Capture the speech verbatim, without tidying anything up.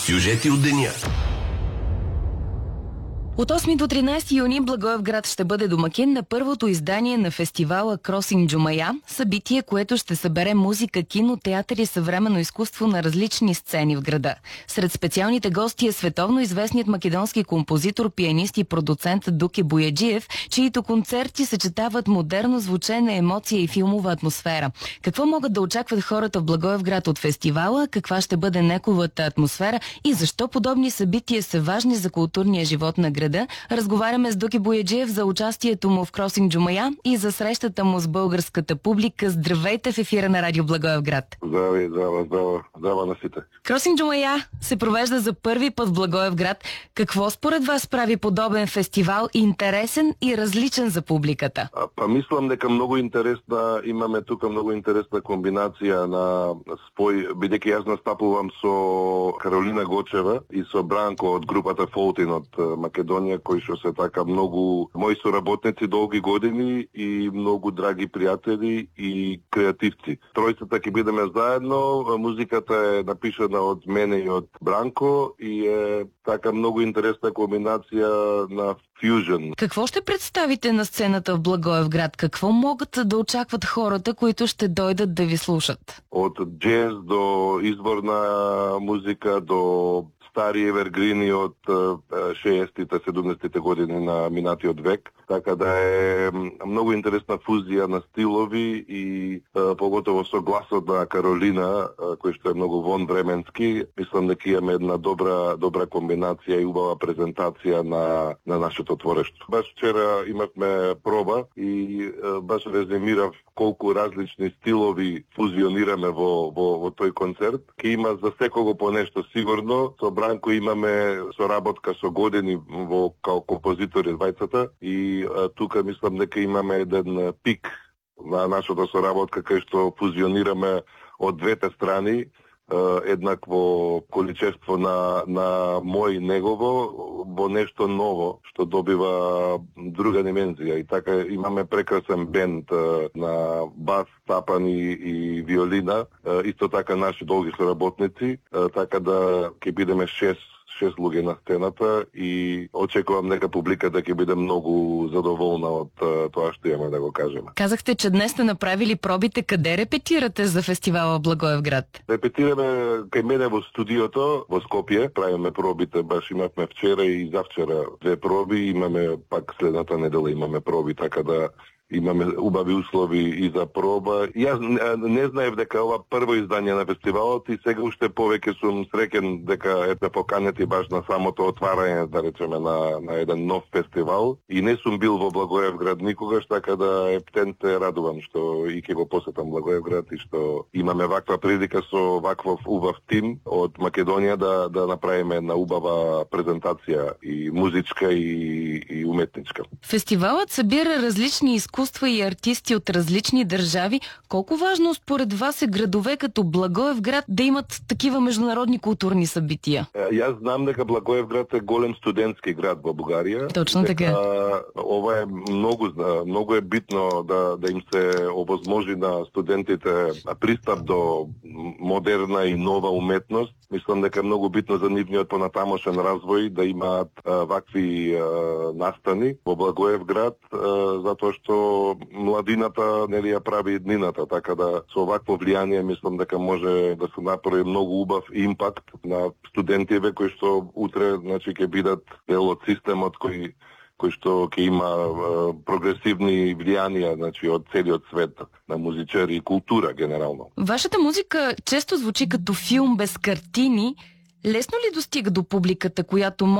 Сюжети од деня. От осми до тринадесети юни Благоевград ще бъде домакин на първото издание на фестивала Кросинг Джумая, събитие, което ще събере музика, кино, театър и съвременно изкуство на различни сцени в града. Сред специалните гости е световно известният македонски композитор, пианист и продуцент Дуке Бояджиев, чиито концерти съчетават модерно звучене, емоция и филмова атмосфера. Какво могат да очакват хората в Благоевград от фестивала, каква ще бъде неговата атмосфера и защо подобни събития са важни за културния живот на града? Разговаряме с Дуке Бояджиев за участието му в Кросинг Джумая и за срещата му с българската публика. Здравейте в ефира на Радио Благоевград. Здравей, здрава, здрава, здрава на сите. Кросинг Джумая се провежда за първи път в Благоевград. Какво според вас прави подобен фестивал интересен и различен за публиката? А, па мислам дека многу интересна, имаме тука многу интересна комбинација на спој, бидејќи јас настапувам со Каролина Гочева и со Бранко од групата Фолтин од Македонија, кои што се така многу мои соработници долги години и многу драги пријатели и креативци. Тројцата ќе бидеме заедно, музиката е напишана од мене и од Бранко и е така многу интересна комбинација на фьюжн. Какво ще представите на сцената в Благоевград? Какво могат да очакват хората, които ще дойдат да ви слушат? Од джез до изборна музика, до стари евергрини од шеесеттите, седумдесеттите години на минатиот век. Така да е многу интересна фузија на стилови и поготово со гласот на Каролина, кој што е многу вонвременски. Мислам дека имаме една добра добра комбинација и убава презентација на на нашето творештво. Баш вчера имавме проба и баш резимирав колку различни стилови фузионираме во во во тој концерт. Ке има за секого по нешто сигурно. Со Бранко имаме соработка со години во као композитори двајцата и а, тука мислам дека имаме еден пик на нашата соработка кај што фузионираме од двете страни еднакво количество на на мој негово во нешто ново што добива друга димензија и така имаме прекрасен бенд на бас, тапани и виолина, исто така наши долги соработници, така да ќе бидеме шест шест луѓе на сцената и очекувам дека публиката ќе биде многу задоволна од тоа што имаме да го кажеме. Казахте, че днес сте направили пробите. Къде репетирате за фестивала Благоевград? Репетираме кај мене во студиото во Скопје, правиме пробите, баш имавме вчера и завчера две проби, имаме пак следната недела имаме проби, така да имаме убави услови и за проба. Јас не знаев дека ова прво издание на фестивалот и сега уште повеќе сум среќен дека ете поканети баш на самото отварање, да речеме, на, на еден нов фестивал. И не сум бил во Благоевград никогаш, така да ептен се радувам што и ќе го посетам Благоевград и што имаме ваква прилика со ваков убав тим од Македонија да да направиме една убава презентација и музичка и, и уметничка. Фестивалът събира различни изкуства и артисти от различни държави. Колко важно според вас е градове като Благоевград да имат такива международни културни събития? Јас знам дека Благоевград е голем студентски град во Бугарија. Точно така. Ова е многу многу е битно да да им се овозможи на студентите пристап до модерна и нова уметност. Мислам дека е многу битно за нивниот понатамошен развој да имаат а, вакви а, настани во Благоевград, а, затоа што младината нели ја прави еднината, така да со вакво влијание мислам дека може да се направи многу убав импакт на студентиве кои што утре значи ќе бидат дел од системот кој кој што ќе има а, прогресивни влијанија значи од целиот свет на музичари и култура генерално. Вашата музика често звучи като филм без картини. Лесно ли достига до публиката, която може